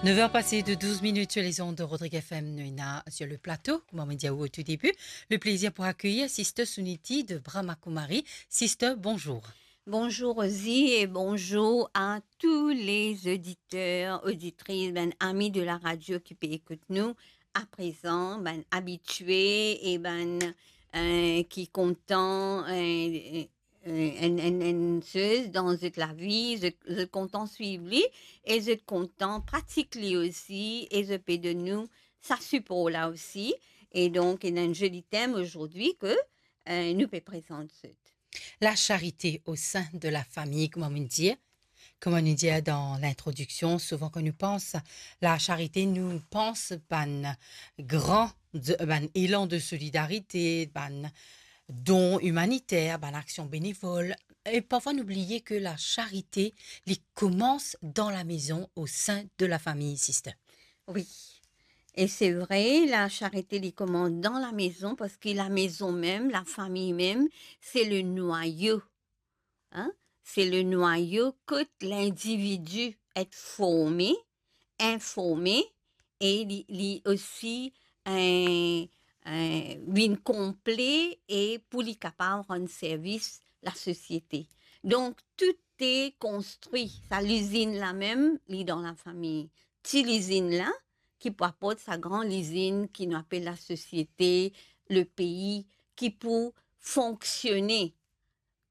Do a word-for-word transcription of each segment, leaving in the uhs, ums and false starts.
Neuf heures passées de douze minutes sur les ondes de Rodrigue F M, nou ena sur le plateau, kouma mo dir ou au tout début, le plaisir pour accueillir Sister Suniti de Brahma Kumari. Sister, bonjour. Bonjour Rosie et bonjour à tous les auditeurs, auditrices, bann ami de la radio ki pe ekout nou. Aprezan, bann abitye e bann, euh, ki kontan, euh, euh, enn, enn, enn soz dan zot lavi, zot, zot kontan swiv li e zot kontan pratik li osi e zot pe donn nou sa sipor la osi. E donk, ena enn zoli tem azordi ke, euh, nou pe prezant zot. La charité au sein de la famille, kouma nou dir, kouma nou dir dan lintrodiksion, souvan kan nou pans la charité, nou pans bann gran, bann elan de solidarité, bann don imaniter, bann aksion benevol. E parfwa nou bliye ke la charité, li koumans dan la mezon, au sein de la famille, sister. Wi. E se vre, la charité, li koumans dan la mezon, parski la mezon mem, la fami mem, se le nwayo. Hein? Se le nwayo kot lindividi et forme, informe, e li, li osi, euh, euh, vinn konple e pou li kapav rann servis lasosiete. Donk, tou e konstri, sa lizinn la mem, li dan lafami. Ti lizinn la, ki pou aport sa gran lizinn ki nou apel lasosiete, lepei, ki pou fonksione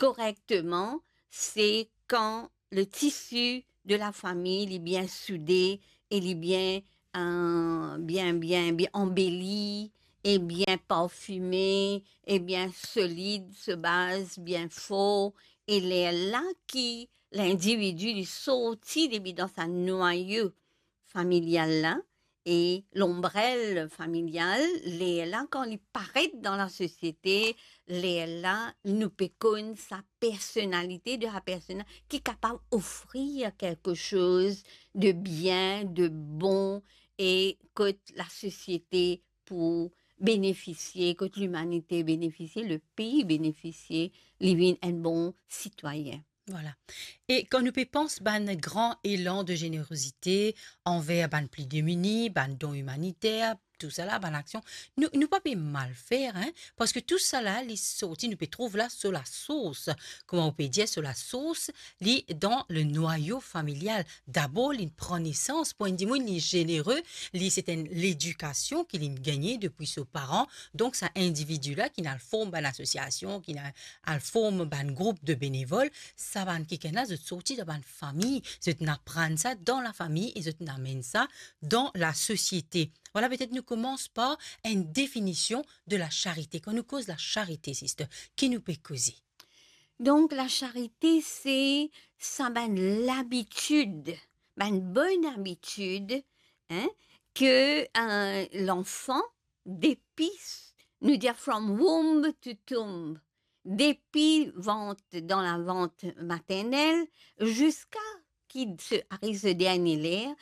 korekteman, se kan le tisi de lafami, li bien soude e li bien, euh, bien, bien, bien anbeli, e bien parfime, e bien solid, so baz bien for, e lerla ki lindividi, li sorti depi dan sa nwayo familial la, e lonbrel familial, lerla kan li paret dan lasosiete, lerla nou pe konn sa personalite de la persona ki kapav ofrir kelke soz de bien, de bon, e kot lasosiete pou benefisie, kot limanite benefisie, lepei benefisie, li vinn enn bon sitwayin. Vwala. E kan nou pe pans bann gran elan de zenerozite anver bann pli demini, bann don imaniter, tousala, bann aksion, nou, nou pa pe mal fer, hein, parski tousala, li sorti, nou pe trouv la so lasours, kouma ou pe dir, so lasours, li dan le nwayo familial. Dabor, li pran nesans, pou enn dimoun, li zenere, li, se enn ledikasion ki li gagne depi so paran. Donk, sa individi la ki al form bann asosiasion, ki al form bann group de benevol, sa bann kikenn la, zot sorti dan bann fami, zot inn aprann sa dan lafami e zot inn amenn sa dan lasosiete. Vwala, petet nou koumans par enn definision de lasarite. Kan nou koz lasarite, sister, ki nou pe koze? Donk, lasarite, se sa bann labitid, bann bonn abitid, hein, ke, euh, lanfan, depi, nou dir from womb to tomb, depi vant, dan lavant maternel, ziska ki se ariv so dernie ler,